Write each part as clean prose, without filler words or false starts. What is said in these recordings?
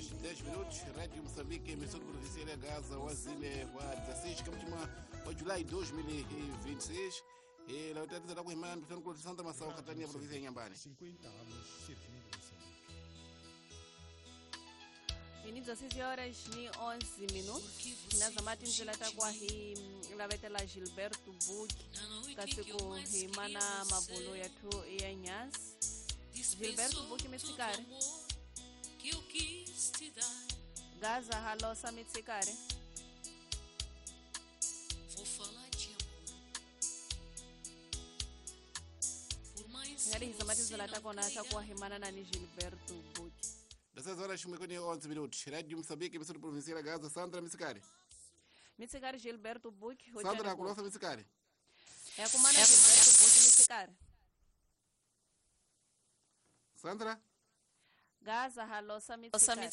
horas 10 minutos, Rádio Moçambique, emissora provincial Gaza, wazile wa 16 kamtima wa Julai 2026. E la utatiza la kuhimana mtano Santa Masao katania província ya Inhambane. 50 anos servindo Moçambique. Ini 16 horas ni 11 minutos. Nazamati ndlela ta kwa hi lavetela Gilberto Buki kasi ku hi mana mabulo ya thu ya nyasi. Gilberto Buki mitsikari. Gaza halosa mitsikari. Ngari hizamati ndlela ta kona ta kwa hi mana na ni Gilberto Buki. 16 horas 11 minutos. Rádio Moçambique, emissora provincial Gaza, Sandra Mitsikari. Mitsikari Gilberto Buki. Sandra, kulosa Mitsikari. É com mana Gilberto Buki Mitsikari. Sandra? Gaza halosa Mitsikari.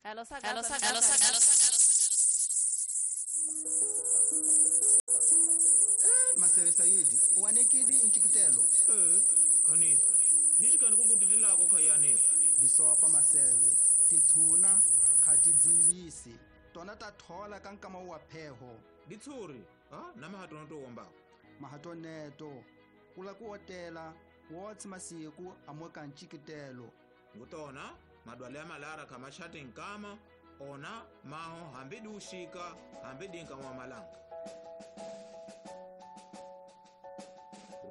Halosa Gaza. Halosa. Masere Saidi, wanekidi nchikitelo. Khanisa, nishikani kukutilako khayane. Bisopa maseve, titsuna khati dzivisi, tona tathola ka nkama wa pheho. Ditsuri, ha? Na mahatono to womba. Mahatoneto, kula ku otela, wotsi masiku amoka nchikitelo. Ngutona, madwale ya malara kamashati nkama, ona maho hambidi ushika, hambidi nkama wa malanga.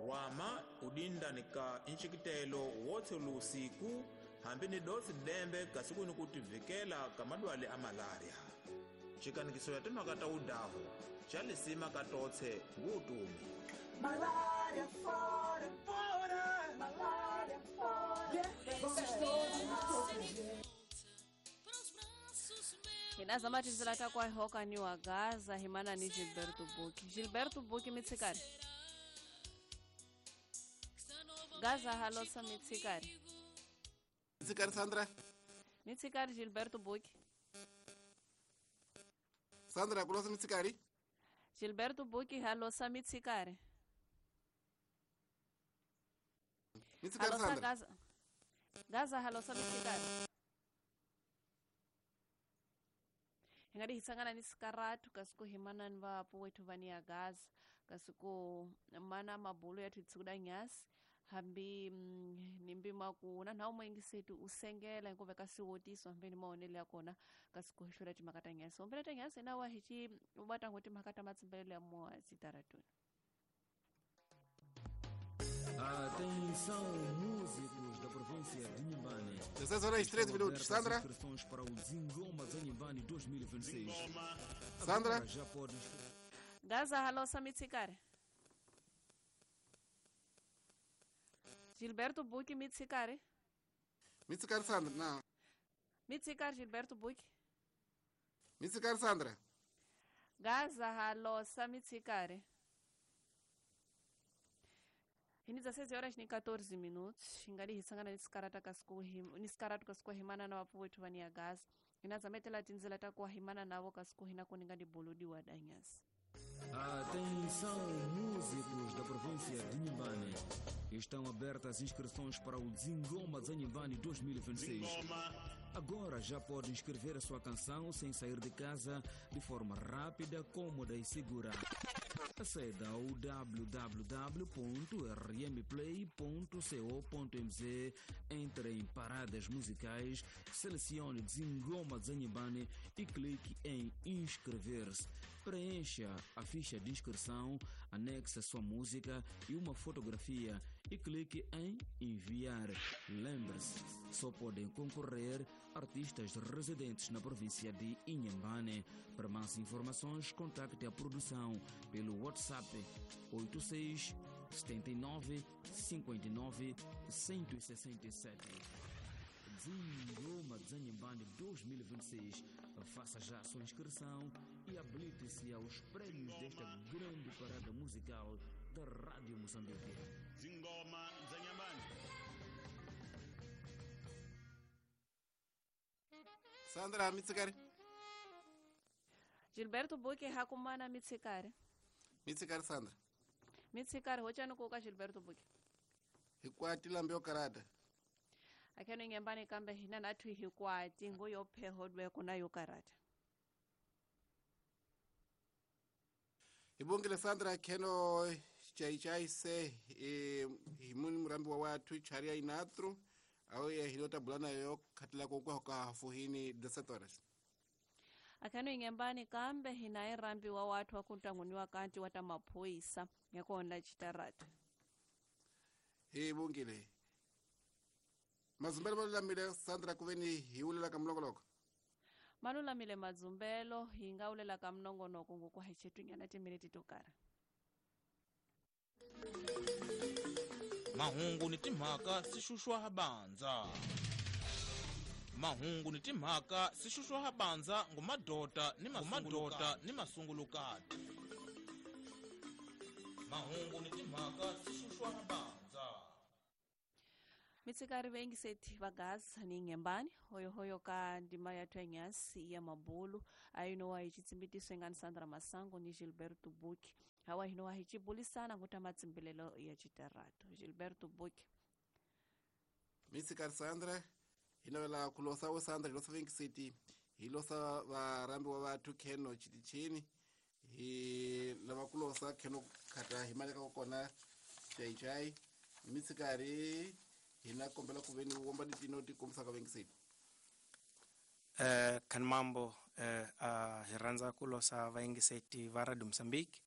Rwama udinda nika nchikitelo wotse lusiku hambi ni dosi dembe kasiku ni kutivikela kamadwale a malaria. Chikanikiso ya timhaka udahu chalisima katotse ngutumi. Malaria fora, fora, malaria fora. Hinazama tindzela ta kwa hoka ni wa Gaza himana ni Gilberto Buki. Gilberto Buki mitsikari. Gaza halosa mitsikari. Mitsikari Sandra. Mitsikari Gilberto Buki. Sandra kulosa mitsikari. Gilberto Buki halosa mitsikari. Mitsikari halosa Sandra. Gaza. Gaza halosa mitsikari. Hingadi hisangana ni sikaratu kasiku himana ni vapu wetu vani ya Gaza kasiku mana mabulu ya tuitsukuda nyasi hambi nimbi maku na nhawu mwengisetu usengela hikuva kasiwotiswa hambi ni maonelo ya kona kasiku hihlula timhaka ta nyasi ombela ta nyasi na wa hichi vatango timhaka ta matsimbelelo ya moya zitaratuni. Atenção, músicos da província de Inhambane. 16 horas 13 minutos. Sandra? Inscrições para o Zingoma Inhambane 2026. Sandra? Agora já pode. Gaza halosa mitsikari. Gilberto Buki mitsikari. Mitsikari Sandra, não. Mitsikari Gilberto Buki. Mitsikari Sandra. Gaza halosa mitsikari. Hini 16 horas ni 14 minutos. Ingadi hisangana nisikarata kasiku nisikaratu kasiku himana na wapu wetu vani ya Gaza. Inazametela tinzela takuwa himana navo kasiku hina kuningadi bolodi wa danyasi. Atenção, músicos da província de Inhambane. Estão abertas inscrições para o Zingoma Inhambane 2026. Agora já pode inscrever a sua canção sem sair de casa, de forma rápida, cômoda e segura. Aceda ao www.rmplay.co.mz, entre em paradas musicais, selecione Zingoma Inhambane e clique em inscrever-se. Preencha a ficha de inscrição, anexe a sua música e uma fotografia e clique em enviar. Lembre-se, só podem concorrer artistas residentes na província de Inhambane. Para mais informações, contacte a produção pelo WhatsApp 86 79 59 167. Zingoma Inhambane 2026. Faça já a sua inscrição e habilite-se aos prêmios desta grande parada musical da Rádio Moçambique. Zingoma Inhambane. Sandra mitsikari. Gilberto Buki hakumana mitsikari. Mitsikari Sandra. Mitsikari hochani kuka Gilberto Buki. Hikwati lambe yo karata. Akheno ingembani kambe hina nathu hikwati ngoyopheho dweko na yo karata. Ibongile Sandra kheno chai chai se himuni murambi wa watu charia inatru awe hilota bulana yo khatila kokwa ka fuhini 17 horas. Akhano ingembani kambe hina irambi wa watu wakuntanguniwa kanti wata maphoyisa ngekona chitarata. Ibongile. Mazumbelo malulamile Sandra kuveni hiulela kamlongoloko. Malulamile madzumbelo hingaulela kamnongonoko ngokuhaichetwinyana timiniti to karhi. Mahungu ni timhaka swi xuxwa bandza. Mahungu ni timhaka swi xuxwa bandza ngumadota ni mamadota ni masungulukati. Mahungu ni timhaka swi xuxwa bandza. Mitsikari vengiseti vagaza ni ngembani hoyohoyo ka ndima yathu ya nyasi ya mabulu ainowa ichitsimbitiso engani Sandra Masango ni Gilberto Buki hawa hinowa hichibulisana nguta matsimbilelo ya chitaratu Gilberto Buki. Mitsikari Sandra hinawela kulosa wo Sandra hilosa vengiseti hilosa varambi wa vathu kheno chitichini hi lava kulosa kheno khata himaleka kona chai chai mitsikari hina kombela kuveni womba ditino ti kombisa ka vengiseti. Kan mambo hi rhandza ku losa vayengiseti va Radio Mozambique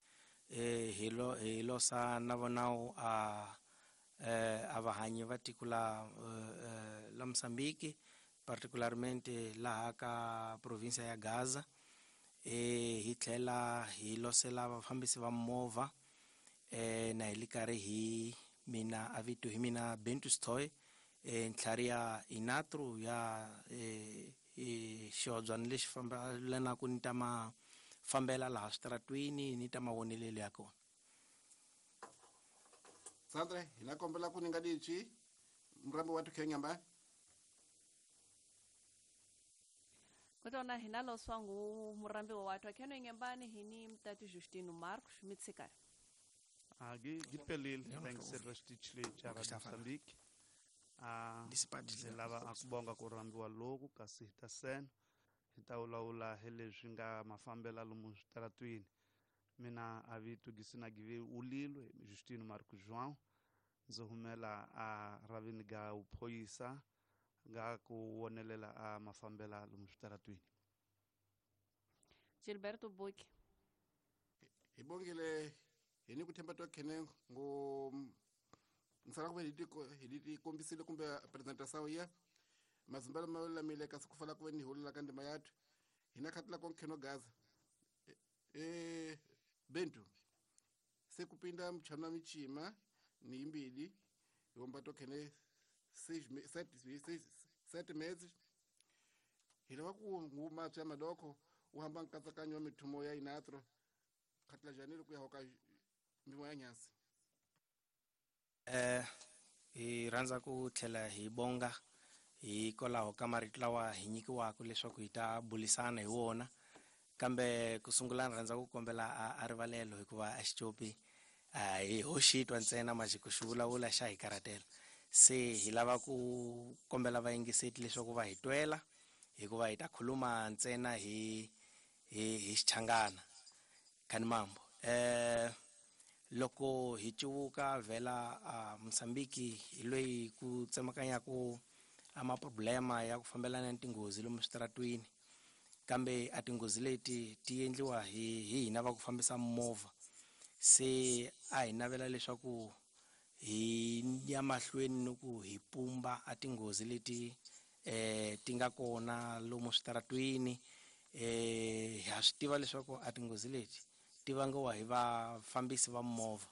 hi losa na vonawu a vahanyi va tiko la Mozambique particularmente laha ka province ya Gaza hi tlhela hi losela vafambisi va movha na hi li karhi hi mina avito hi mina Bentu Stoy ntlhari ya inatru ya xihobyana lexi fambelanaka ni ta mafambela laha switaratwini ni ta mavonelelo ya kona. Sandra hina kombela ku ninga dichi murambi wa tukhenyamba. Kotona hina loswa ngu murambi wa watu akheno ingembani hini mtatu Justino Marcos mitsikari. Gipelile vengiseti xitichi cha Radio Mozambique. Lava a ku bonga ku rambiwa loku kasi hi ta sena hi ta vulavula hi leswi nga mafambela lomu switaratwini. Mina a vito Gisina Give Ulilwe Justino Marcos João ndzi humela a ravini ga uphoyisa ga ku wonelela a mafambela lomu switaratwini. Gilberto Buki. Hi bongile hini ku themba tokhene ngo nsala kuve hi kombisile kumbe presentation ya mazumbelo malulamile kasi ku fala kuve ni hulela ka ndima yathu hina khatila konkheno Gaza Bentu se kupinda mchana michima ni imbili yomba tokhene 6 7 meses hilava ku nguma tsya madoko uhamba nkatsakanyo wa mithumo ya inatro khatila janelo ku ya hoka mbimo ya nyasi. Hi rhandza ku tlhela hi bonga hikwalaho ka marito lawa hi nyikiwaka leswaku hi ta bulisana hi wona kambe ku sungula ni rhandza ku kombela a rivalelo hikuva a xicopi hi hoxitwa ntsena majiko xi vulavula xa hi karhatela se hi lava ku kombela vayingiseti leswaku va hi twela hikuva hi ta khuluma ntsena hi hi xichangana khani mambo. Loko hi civuka vhela Mozambique hi loyi ku tsemakanyaka a maproblema ya ku fambelana ni tinghozi lomu switaratwini kambe a tinghozi leti ti endliwa hi hina va ku fambisa movha se a hi navela leswaku hi ya mahlweni ni ku hi pumba a tinghozi leti ti nga kona lomu switaratwini ha swi tiva leswaku a tinghozi leti ti vangiwa hi vafambisi va movha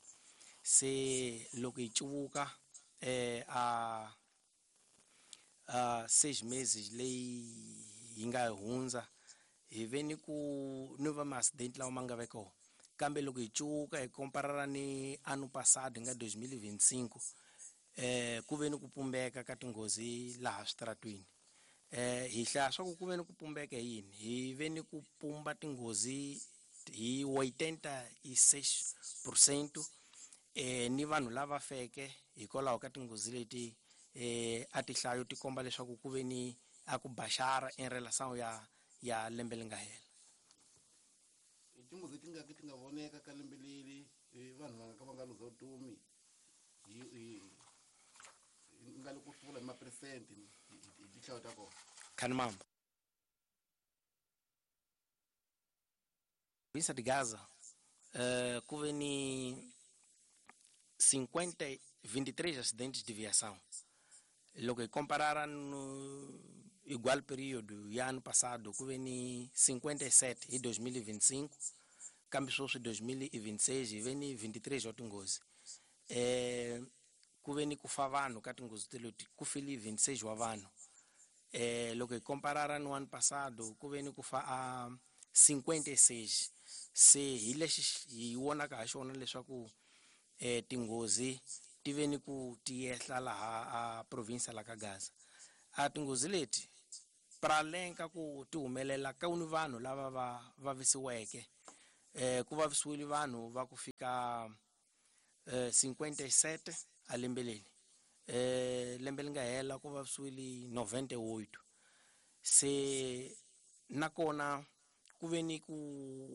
se loko hi cuvuka a 6 meses leyi hi nga hundza hi ve ni ku ni va ma-accident lawa ma nga ve kona kambe loko hi cuvuka hi komparara ni ano passado nga 2025 ku ve ni ku pumbeka ka tinghozi laha switaratwini hi hlaya swa ku ve ni ku pumbeka hi yini hi ve ni ku pumba tinghozi hi 86% Ni vanhu lava feke hikwalaho ka tinghozi leti a tihlayo ti komba leswaku ku ve ni a ku baxara in relação ya lembe leri nga hela. Tinghozi ti nga ti nga voneka ka lembe leri vanhu va nga ka va nga luza vutomi hi nga le ku hlula hi maphesente hi tinhlayo ta kona. Khanimamba. Província de Gaza ku ve ni 23 acidentes de viação. Loko hi comparara no igual período ya ano passado ku ve ni 57 hi 2025, kambe sweswi 2026 hi ve ni 23 wa tinghozi. Ku ve ni ku fa vanhu ka tinghozi teleti, ku file 26 wa vanhu. Loko hi comparara no ano passado ku ve ni ku fa a 56. Se hi lexi hi vonaka ha xona leswaku tinghozi ti ve ni ku tiyehla laha a province la ka Gaza. A tinghozi leti pralenka ku ti humelela ka ni vanhu lava va vavisiweke. Ku vavisiwile vanhu va ku fika 57 a lembe leri. Lembe leri nga hela ku vavisiwile 98. Se nakona ku ve ni ku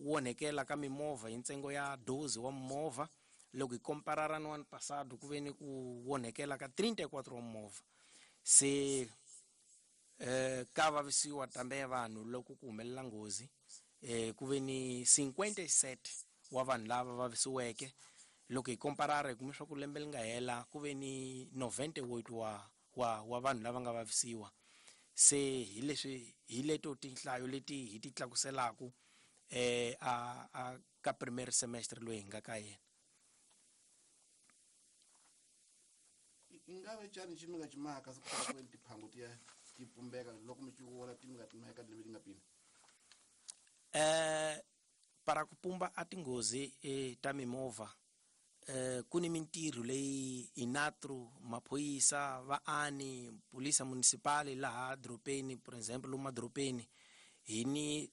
onhekela ka mimovha hi ntsengo ya 12 wa mimovha. Loko hi comparara no ano passado ku ve ni ku onhekela ka 34 wa mimovha. Se ka vavisiwa tambe vanhu loko ku humelela nghozi, ku ve ni 57 wa vanhu lava vavisiweke. Loko hi comparara hi kume swa ku lembe leri nga hela ku ve ni 98 wa vanhu lava nga vavisiwa. Se hi leswi hi leto tinhlayo leti hi ti tlakuselaku a ka primer semestre loyi hi nga ka yena. I nga ve cani xi mi nga cimaka siku ra ku tiphangu ti ya ti pumbeka loko mi ci vona ti mi nga timeka lembe li nga pina? Para ku pumba a tinghozi ta mimovha, ku ni mintirho leyi inatru maphorisa vaani polisa municipal laha dorobeni, por exemple lomu madorobeni hi ni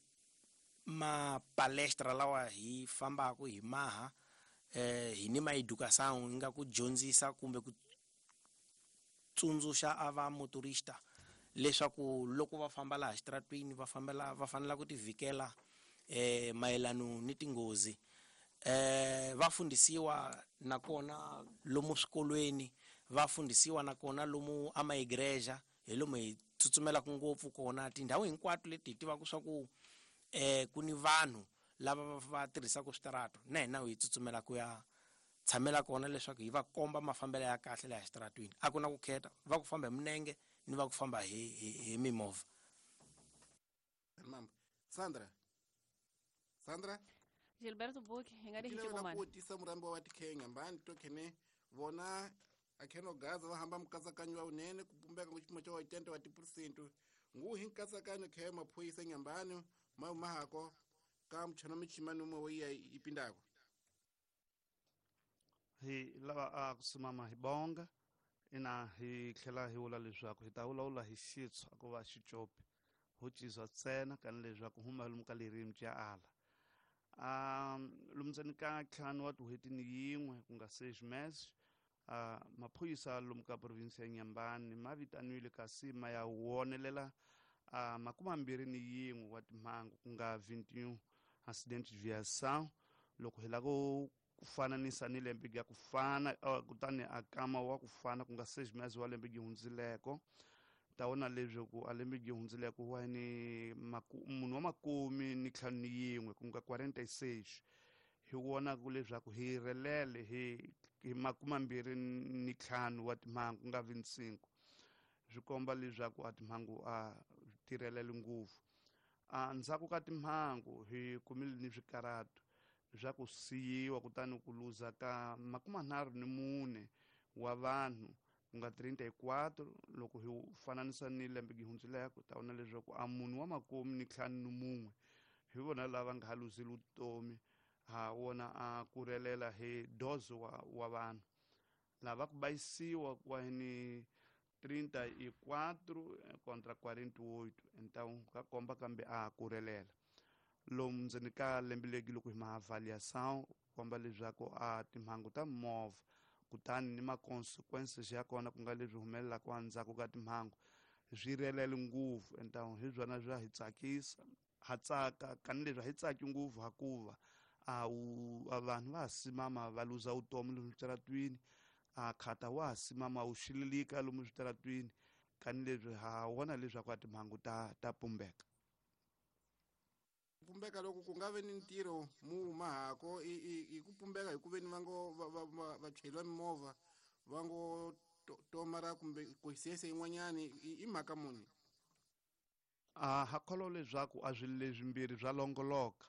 mapalestra lawa hi fambaka hi maha, hi ni maeducação yi nga ku dyondzisa kumbe ku tsundzuxa a va motorista leswaku loko va famba laha xitaratwini va fanela ku tivhikela mayelano ni tinghozi. Va fundisiwa nakona lomu swikolweni, va fundisiwa nakona lomu a maigreja, hi lomu hi tsutsumelaka ngopfu kona tindhawu hinkwato leti hi tivaka swa ku ku ni vanhu lava va tirhisaka switarato, na hina hi tsutsumela ku ya tshamela kona leswaku hi va komba mafambelo ya kahle laha xitaratwini. A ku na ku khetha va ku famba hi minenge ni va ku famba hi mimovha. Sandra, Sandra Gilberto Buki hi nga di ku tisa murambi wa Tikhenya mbani to khene vona a kheno Gaza va hamba mukatsakanyo wa unene ku pumbeka ku xipimo xa 80 wa 10% ngu hi nkatsakanyo khe maphorisa nyambani ma mahako ka mchana michimani umwe wo iya ipindako. Hi lava a kusimama hi bonga ina hi tlhela hi vula leswaku hi ta vulavula hi xitshwa ku va xicopi ho cizwa ntsena kana leswaku huma lomu ka ririmi ya ala. Lomu ndzeni ka ntlhanu wa tin'hweti ni yin'we ku nga 6 meses, maphorisa lomu ka province ya Nyambani ma vitaniwile kasi ma ya wonelela 21 wa timhangu ku nga 21 accident de viação. Loko hi lava ku fananisa ni lembe ya ku fana, kutani a kama wa ku fana ku nga 6 meses wa lembe yi hundzileko, ta vona leswaku a lembe yi hundzileko wa ni munhu wa 51 ku nga 46. Hi vona ku leswaku hi relele hi 25 wa timhangu ku nga 25. Swi komba leswaku a timhangu a tirhelele ngopfu. Ndzhaku ka timhangu hi kumile ni swikaratu swa ku siyiwa kutani ku luza ka 34 wa vanhu ku nga 34. Loko hi fananisa ni lembe yi hundzileko ta vona leswaku a munhu wa 54 hi vona lava nga ha luzile vutomi ha wona a ku relela hi 12 wa vanhu lava ku bayisiwa kwa ni 34 contra 48. Então ka komba kambe a ku relela. Lomu ndzeni ka lembe legi loko hi ma avaliação, komba leswaku a timhangu ta mimovha kutani ni ma-consequences ya kona, ku nga leswi humelelaka endzhaku ka timhangu, swi relele ngopfu. Entahu hi byona bya hi tsakisa, ha tsaka kanileswi a hi tsaki ngopfu, hakuva a wu a vanhu va ha simama va luza vutomi lomu switaratwini, a khata wa ha simama wu xililika lomu switaratwini, kanileswi ha vona leswaku a timhangu ta pumbeka. Pumbeka loko ku nga ve ni ntirho mu mahako i ku pumbeka hi ku veni va ngo vachayeri va mimovha va ngo tomara kumbe consciência yin'wanyani, i mhaka muni? A ha kholwa leswaku a swilo leswimbirhi swa longoloka.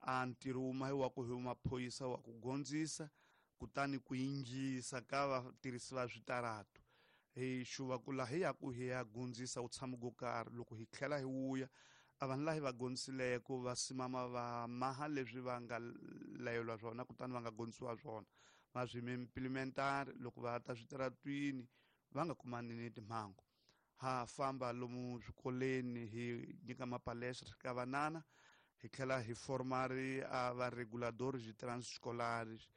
A ntirho wuma hi wa ku hi maphorisa wa ku gondzisa, kutani ku yingisa ka vatirhisi va switaratu hi xuva ku laha hi yaku hi ya gondzisa wu tshama go karhi, loko hi tlhela hi wuya, a vanhu laha hi va gondzisileko va simama va maha leswi va nga layelwa swona, kutani va nga gondzisiwa swona, va swi implementar loko va ta switaratwini va nga kumani ni timhangu. Ha famba lomu swikolweni hi nyika mapalestra ka vanana, hi tlhela hi formari a va reguladores de trânsito escolares.